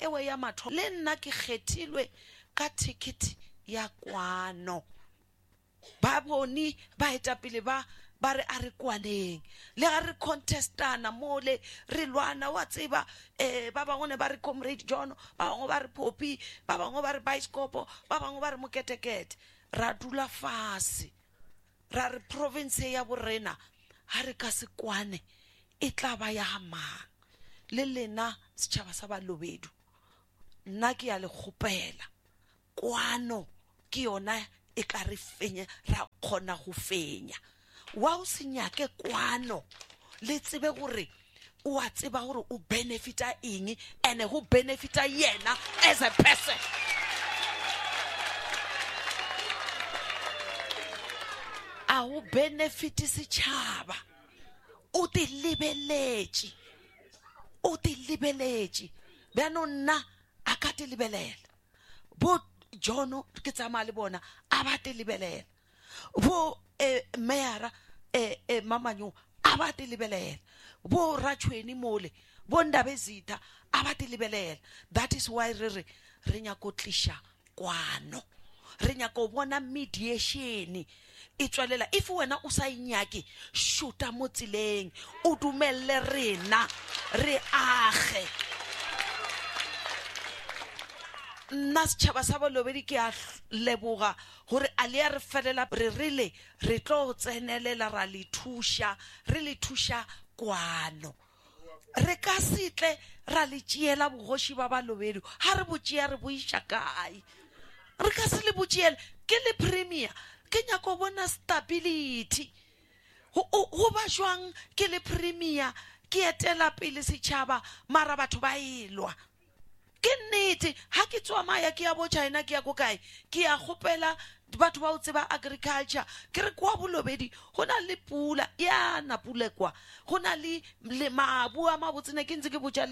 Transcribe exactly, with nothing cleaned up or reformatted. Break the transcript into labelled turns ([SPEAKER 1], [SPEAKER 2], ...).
[SPEAKER 1] ewe ya matho le nna ke kgethilwe ka ticket ya kwano. Ba bone baetapele ba ba re a re kwaneng le ga re contestana mole re lwana wa tseba eh ba bangwe ne ba re Comrade John, ba bangwe ba re Poppy, ba bangwe ba re Bioscopo, ba bangwe ba re Moketekete. Ra dula fase ra re province ya borena ha re ka se kwane e tla ba ya ga mang. Le lena setšhaba sa Balobedu, nna ke ya le kgopela, kwano ke yona e ka re fenya, ra kgona go fenya. Wa o se nyake kwano, le tsebe gore o a tseba gore o benefita eng, and go benefita yena as a person. A go benefit setšhaba, o te lebeletše, o te lebeletše. Bjanong nna a ka te lebelela, bo John ke tsamaya le bona a ba te lebelela, bo eh, meyara eh, eh, Mamanyo a ba te lebelela, bo Ratšhweni mole, bo Ndabezitha a ba te lebelela. That is why re re re nyako tliša kwano, re nyako bona mediation e tswelela. If wena o sa e nyake, šuta mo tseleng, o dumelle rena re age. Nna setšhaba sa Balobedu ke a leboga gore a le ya re felela, re rile re tlo tsenelela ra le thuša, re le thuša kwano. Re ka se tle ra le tšeela bogoši ba Balobedu, ha re bo tšea re bo iša kae? Re ka se le bo tšeele. Ke le premier, ke nyako bona stability. Go ba jwang ke le premier ke etela pele setšhaba mara batho ba elwa? Ke nnete, ha ke tsamaya ke ya bo China, ke ya ko kae, ke ya kgopela batho ba o tseba agriculture, ke re kwa Bolobedu go na le pula ya na pula kwa, go na le mabu a mabotse. Ne ke ntse ke botša